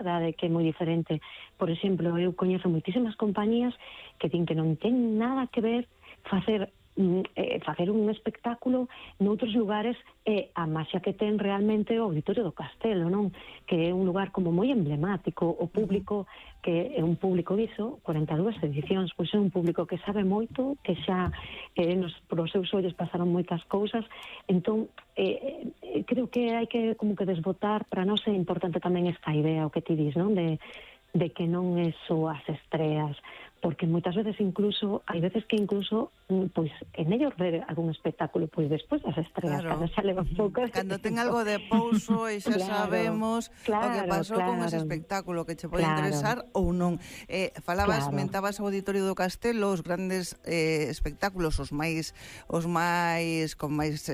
verdade que é moi diferente. Por exemplo, eu coñezo moitísimas compañías que din que non ten nada que ver facer un espectáculo noutros lugares a maxia que ten realmente o Auditorio do Castelo, non? Que é un lugar como moi emblemático, o público que é un público diso, 42 edicións, pois é un público que sabe moito, que xa pros seus ollos pasaron moitas cousas, entón creo que hai que como que desbotar, para nós é importante tamén esta idea, o que ti dis, non? De que non é só as estreas, porque moitas veces incluso, hai veces que incluso pois é mellor ver algún espectáculo pois despois das estreas, claro. Cando xa leva un pouco cando ten algo de pouso e xa sabemos o que pasou con ese espectáculo, que che pode interesar ou non. Falabas, mentabas o Auditorio do Castelo, os grandes espectáculos, os máis con máis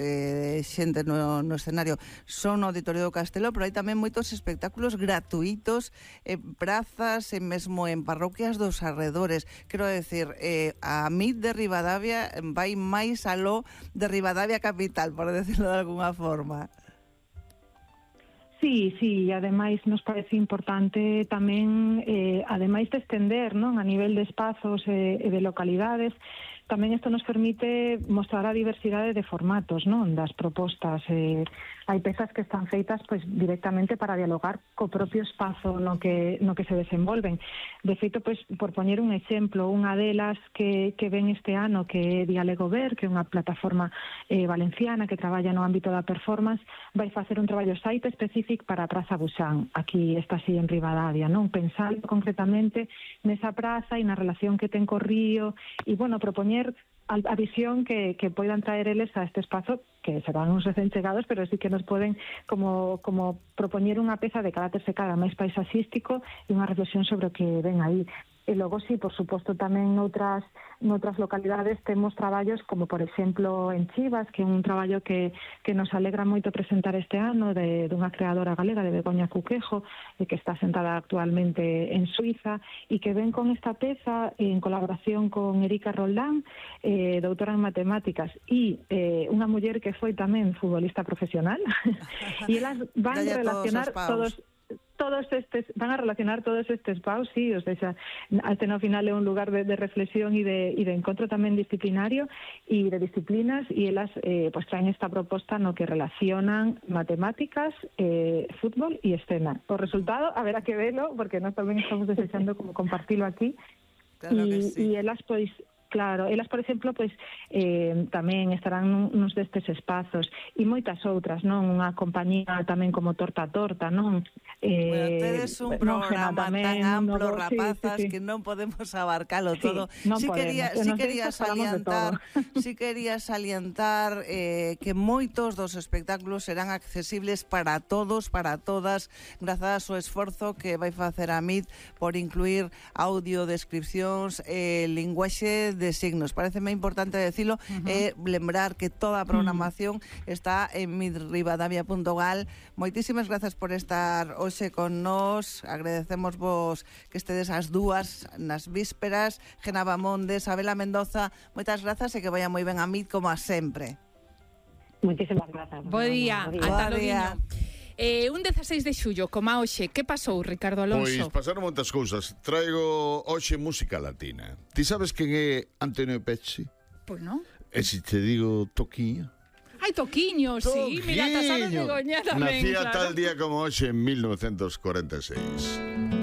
xente no escenario son o Auditorio do Castelo, pero hai tamén moitos espectáculos gratuitos en prazas e mesmo en parroquias dos arredores. Quero decir, a MIT de Ribadavia vai máis aló de Ribadavia capital, por decirlo de alguna forma. Sí, ademais nos parece importante tamén, ademais de estender, non, a nivel de espazos e de localidades, tamén isto nos permite mostrar a diversidade de formatos, non, das propostas. Hai pezas que están feitas pois directamente para dialogar co propio espazo no que se desenvolven. De feito, pois, por poñer un exemplo, unha delas que ven este ano, que é Diálogo Ver, que é unha plataforma valenciana que traballa no ámbito da performance, vai facer un traballo site específico para a Praza Buxán, aquí está así en Ribadavia, non? Pensando concretamente nesa praza e na relación que ten co río, e, bueno, propoñer a visión que poidan traer eles a este espazo, que serán uns recén chegados, pero sí que nos poden como propoñer unha peza de carácter secada máis paisaxístico e unha reflexión sobre o que ven aí. E logo, sí, por suposto, tamén noutras localidades temos traballos como, por exemplo, en Chivas, que é un traballo que nos alegra moito presentar este ano, dunha creadora galega, de Begoña Cuquejo, que está sentada actualmente en Suiza, e que ven con esta peza en colaboración con Erika Roldán, doutora en matemáticas, e unha muller que foi tamén futbolista profesional, e elas van relacionar todos estes paus, sí, o sea, até no final é un lugar de reflexión e de encontro tamén disciplinario e de disciplinas, e elas pues traen esta proposta no que relacionan matemáticas, fútbol e escena. O resultado, haberá que velo, porque nós tamén estamos desexando como compartilo aquí. Claro que sí. E elas, pois, claro, elas, por exemplo, pois tamén estarán nos destes espazos, e moitas outras, non? Unha compañía tamén como Torta a Torta, non? Tedes un programa tan amplo, rapazas, que non podemos abarcalo todo. Sí quería salientar que moitos dos espectáculos serán accesibles para todos, para todas, grazas ao esforzo que vai facer a MIT por incluir audio, descripcións, linguaxe de signos. Pareceme importante decirlo, lembrar que toda a programación está en mitribadavia.gal. Moitísimas grazas por estar hoxe con nós. Agradecemos vos que estedes as dúas nas vísperas. Genava Monde, Sabela Mendoza, moitas grazas e que vaya moi ben a MIT como a sempre. Moitísimas grazas. Bo día, ata logo. Un 16 de xullo, como hoxe, que pasou, Ricardo Alonso? Pois pasaron moitas cousas. Traigo hoxe música latina. Ti sabes quen é Antonio Pecci? Pois non. E se te digo Toquiño? Ai, Toquiño, sí. Mira, tasado de Goña tamén. Nacía tal día como hoxe en 1946.